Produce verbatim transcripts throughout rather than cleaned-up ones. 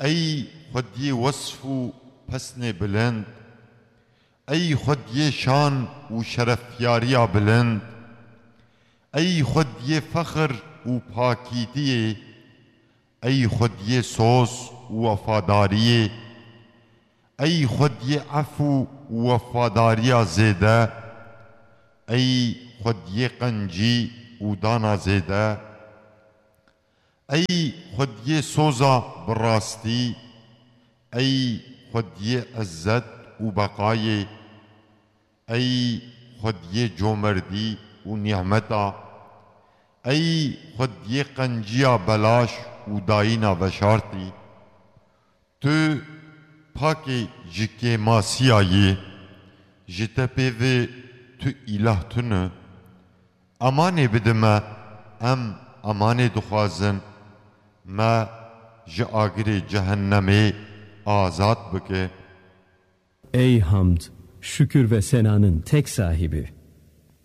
Ey xwediyê wesf û pesnê bilind, ey xwediyê şan û şerefyariya bilind, ey xwediyê fexir û pakîtiyê, ey xwediyê soz û wefadariyê, ey xwediyê efû û wefadariya zêde, ey xwediyê qencî û dana zêde, ey xwediyê soza bi rastî, ey xwediyê izzet û beqayê, ey xwediyê comerdî û nîhmeta, ey xwediyê qenciya belaş û dayîna veşartî. Tu pakê ji kêmasiya yî, ji te pê vê tu îlah tune. Emanê bide me, em emanê dixwazin, me ji agirê cehennemê azad bike. Ey hamd, şükür ve senanın tek sahibi.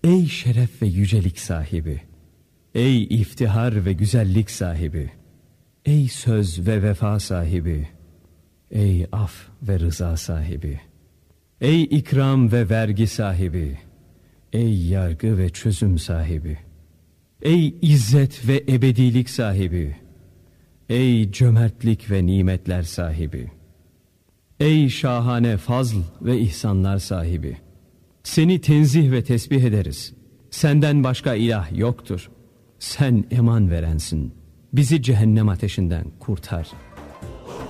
Ey şeref ve yücelik sahibi. Ey iftihar ve güzellik sahibi. Ey söz ve vefa sahibi. Ey af ve rıza sahibi. Ey ikram ve vergi sahibi. Ey yargı ve çözüm sahibi. Ey izzet ve ebedilik sahibi. Ey cömertlik ve nimetler sahibi. Ey şahane fazl ve ihsanlar sahibi. Seni tenzih ve tesbih ederiz. Senden başka ilah yoktur. Sen eman verensin. Bizi cehennem ateşinden kurtar.